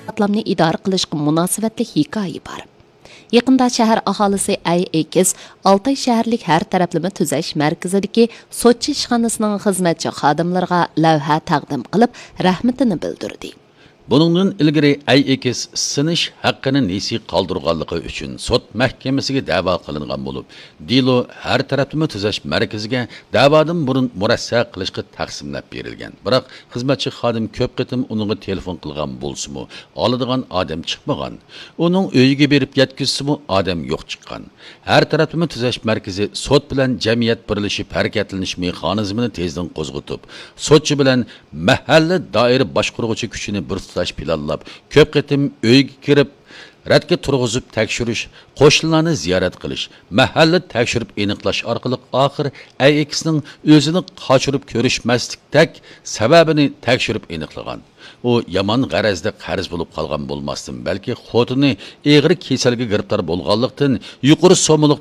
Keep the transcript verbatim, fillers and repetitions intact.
قاتلامنى ئىدارە قىلىشقا مۇناسىۋەتلىك ھېكايە بار. يېقىندا شەھەر ئاھالىسى ئەي ئېكىس ئالتاي شەھەرلىك ھەر تەرەپلىمە تۈزەش مەركىزىدىكى سوتچى ئىشخانىسىنىڭ خىزمەتچى خادىملىرىغا لەۋھە تەقدىم قىلىپ، رەھمىتىنى بىلدۈردى. بۇنىڭدىن ئىلگىرى ئەي ئېكىس سىنىش ھەققىنى نېسى قالدۇرغانلىقى ئۈچۈن سوت مەھكىمىسىگە دەۋا قىلىنغان بولۇپ، دېلو ھەر تەرەپلىمە تۈزەش مەركىزىگە دەۋادىن بۇرۇن مۇرەسسە قىلىشقا تەقسىملەپ بېرىلگەن. بىراق، خىزمەتچى خادىم كۆپ قېتىم ئۇنىڭغا تېلېفون قىلغان بولسىمۇ، ئالىدىغان ئادەم چىقمىغان. ئۇنىڭ ئۆيىگە بېرىپ يەتكۈزسىمۇ، ئادەم يوق چىققان. ھەر تەرەپلىمە تۈزەش مەركىزى سوت بىلەن جەمئىيەت بىرلىشىپ ھەرىكەتلىنىش مېخانىزمىنى تېزدىن قوزغىتىپ، سوتچى بىلەن مەھەللە دائىرە باشقۇرغۇچى كۈچىنى بىر تۇتاش پىلانلاپ، كۆپ قېتىم ئۆيگە كىرىپ، رەتكە تۇرغۇزۇپ تەكشۈرۈش، قوشنىلارنى زىيارەت قىلىش، مەھەللە تەكشۈرۈپ ئېنىقلاش ئارقىلىق ئاخىر ئەي ئېكىسنىڭ ئۆزىنى قاچۇرۇپ كۆرۈشمەسلىكتەك سەۋەبىنى تەكشۈرۈپ ئېنىقلىغان. ئۇ يامان غەرەزدە قەرز بولۇپ قالغان بولماستىن، بەلكى خوتۇنى ئېغىر كېسەلگە گىرىپتار بولغانلىقتىن، يۇقىرى سوممىلىق